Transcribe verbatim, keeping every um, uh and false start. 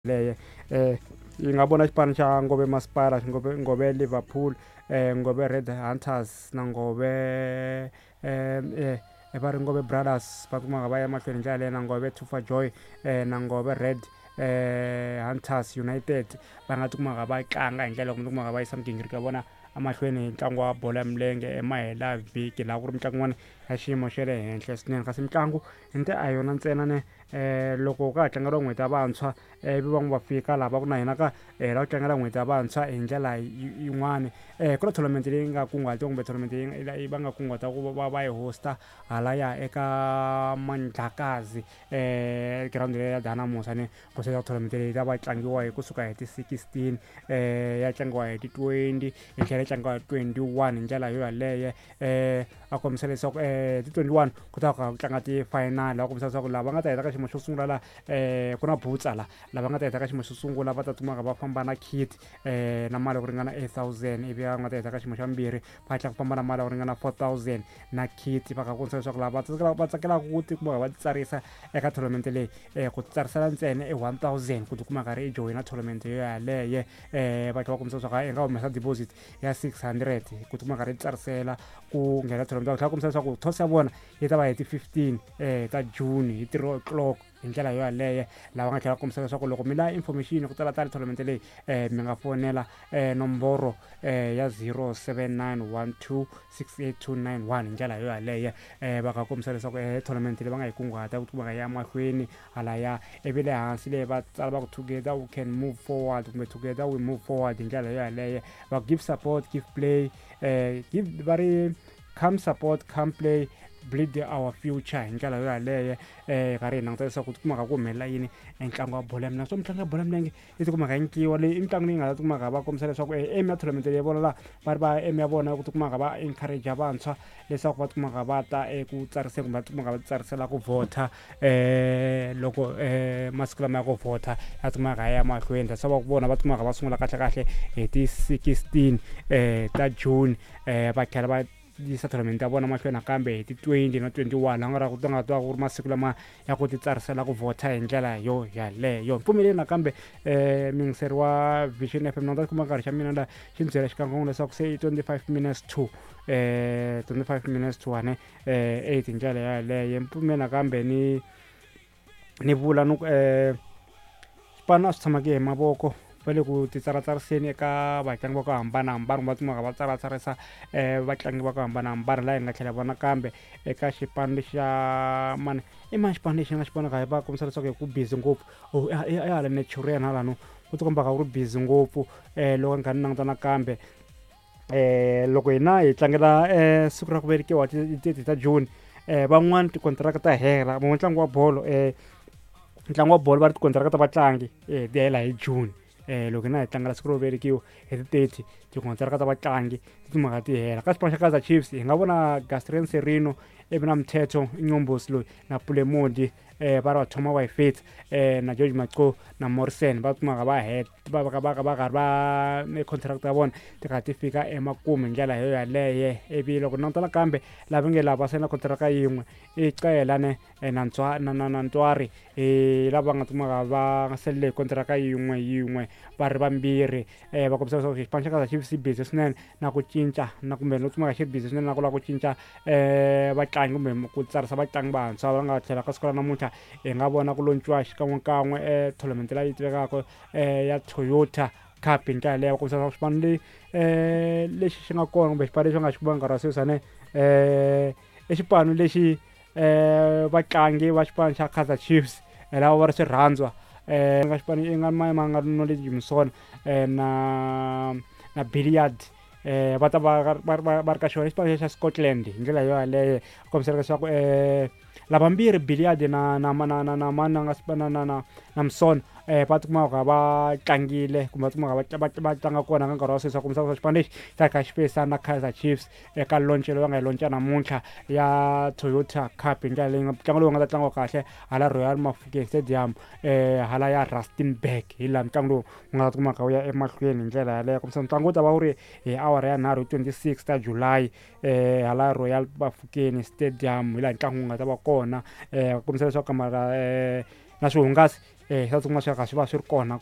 Leyo eh yi nga vona xipano xa Ngove Masipala, Ngove Ngove Liverpool, eh Ngove Red Hunters na Ngove eh eh va ri Ngove Brothers, va kumaka va ya mahlweni hi ndlela leyo, na Ngove Tufa Joy, eh na Ngove Red eh Hunters United, va nga tikumaka va tlanga hi ndlela kumbe tikumaka va yisa migingiriko ya vona emahlweni hi ntlangu wa bolo ya milenge emahela vhiki, laha ku ri mitlangu yin'wana ya xiyimo xa le henhla swinene. Kasi mitlangu nte a yona ntsena ne um loko ka ha tlangeriwa n'hweti ya vantshwa, ivi van'we va fika laha va ku na hina ka hi lava ku tlangela n'hweti ya vantshwa hi ndlela yin'wani, um ku na tournament leyi nga kunguhatiwa kumbe tournament leyi va nga kunguhata ku va va yi hosta halaya eka Mandlakazi, um girawundi leyi ya Dynamos ne ku seta tournament leyi ta va tlangiwa hi kusuka hi ti sixteen, um ya tlangiwa hi ti twenty, yi tlhela yi tlangiwa hi twenty one hi ndlela yo yaleyo. um A kombisa leswaku um ti twenty one ku ta ku tlanga ti-final, a kombisa leswaku lava nga ta heta ka xiyimo xo sungula la, um ku na butsa la, lava nga ta heta ka xiyimo xo sungula va ta kumaka va famba na kit um na mali ya ku ringana eight thousand, ivi va nga ta heta ka xiyimo xa vumbirhi va tlhela ku famba na mali ya ku ringana four thousand na kit. Va kha kombisa leswaku lava va tsakelaka ku tikuma va titsarisa eka tournament leyi, um ku titsarisela ntsena i one thousand ku tikuma karhi i joyina tournament yo yaleyo. um Va tlhela va kombisa leswaku i nga humesa deposit ya six hundred ku tikuma karhi i titsarisela ku nghena tournament. Va tlhela va kombisa leswaku toss ya vona yi ta va hi ti fifteen um ta June hi three o'clock hi ndlela yo yaleyo. Lava nga tlhela va kombisa leswaku loko mi lava information ku tala tala tournament leyi, um mi nga fonela um nomboro um ya zero seven nine one two six eight two nine one hi ndlela yo yaleyo. um Va nga kombisa leswaku um tournament leyi va nga yi kunguhata ku tikuma ya mahlweni halaya, ivi le hansi leyi va tsala va ku together we can move forward kumbe together we move forward hi ndlela yo yaleyo. Va give support, give play, um give va ri come support, come play, build our future hi ndlela yo yaleyo. um Karhi hi languta leswaku tikumaka ku humelela yini entlangu wa bolo ya milenge. So mitlangu ya bolo ya milenge yi tikumaka yi nyikiwa leyi i mitlangu leyi nga ta tikumaka va kombisa leswaku aim ya tournament leyi vona laha va ri va aim ya vona ku tikumaka va encourage vantshwa leswaku va tikumaka va ta eku tsariseni kumbe va tikumaka va titsarisela ku vhota, um loko um masiku lama ya ku vhota ya tikumaka ya mahlweni. That's why vona va tikumaka va sungula kahle kahle hi ti sixteen um ta June, um va tlhela va yisa tournament ya vona mahlweni nakambe hi ti twenty na twenty one, laha nga ra ku nga ta ku ri masiku lama ya ku titsarisela ku vhota hi ndlela yo yaleyo. Mpfumeleli nakambe um muyingiseri wa Vision F M, na ta kuma nkarhi xa mina la xi ni byela xikan'we leswaku se i twenty five minutes to um twenty five minutes to one um eight hi ndlela yaleyo. Mpfumeli nakambe ni ni vula ni ku um xipano a swi tshamaki hi mavoko, va le ku titsaratsariseni eka vatlangi va ku hambanahambana, va kumaka va tsaratsarisa um vatlangi va ku hambanahambana. Laha hi nga tlhela vona kambe eka xipano lexi xa mani i mani xipano lexi nga xi vonaka va kombisa leswaku hi ku busy ngopfu i hala Naturena halano ku tikombaka ku ri busy ngopfu. um Loko ni kha ni languta nakambe um loko hina hi tlangela um siku ra ku velekiwa ti thirty ta June, um van'wani tikontiraka ta hela ntlangu wa bolo, um ntlangu wa bolo va ri tikontiraka ta vatlangi um ti hela hi June. um Loko hina hi tlangela siku ro velekiwa hi ti thirty, tikontiraka ta vatlangi ti timhaka ti hela. Ka xipano xa Kaizer Chiefs hi nga vona Gastrin Serino, ivi na Mthetho Nyombosi loyi na Pulemodi, um va ri va thoma va yi fitsa, um na George Maco na Morrison va kumaka va het va va va va karhi va contract ya vona ti kha ti fika emakumu hi ndlela yo yaleyo. Ivi loko languta nakambe lava nge lava sayina contract yin'we i Cela ne na Ntswa na na na Ntwari, lava nga kumaka va salele hi contract yin'we yin'we va ri vambirhi. um Va kombisa leswaku xipano xa Kaizer Chiefs xi busy swinene na ku cinca na kumbe no kumeka xi ri busy swinene na ku lava ku cinca um vatlangi kumbe ku tsarisa vatlangi vantshwa. Va nga tlhela ka siku ra namuntlha hi nga vona ku lonciwa xikan'wekan'we um tournament leyi tivekaka um ya Toyota Cup hi ndlela leyo. Va kombisa leswaku xipano leyi um lexi xi nga kona kumbe xipano lexi va nga xi kuma nkarhi wa sweswi ane um i xipano lexi um vatlangi va xipano xa Kaizer Chiefs lava va ri swirhandzwa, um nga xipano i nga ma nga Knowledge Musona um na na Billiard, um va ta va va va ri ka xona xipano xa Scotland hi ndlela yo yaleyo. Kombisela leswaku um lavambirhi Billiard na na na na na mani nga na na na na Musona um va tikumaka va tlangile kumbe va tikumaka va va tlanga kona ka nkarhi wa sweswi. Va kombisa leswaku xipano lexi ta kha xi feyisana na Kaizer Chiefs eka launch leyi va nga yi launch namuntlha ya Toyota Cup hi ndlela leyi ntlangu lowu nga ta tlangiwa kahle hala Royal Mafokeng Stadium, um hala ya Rustenburg, hi laha ntlangu lowu wu nga ta kumaka wu ya emahlweni hi ndlela yaleyo. Kombisa ntlangu wu ta va wu ri hi awara ya nharhu hi twenty six ta July, um hala Royal Bafokeng Stadium hi laha ntlangu wu nga ta va kona. um Kombisa leswaku kamara um na swihungasi Eh, swa tikuma swi kha swi va swi ri kona.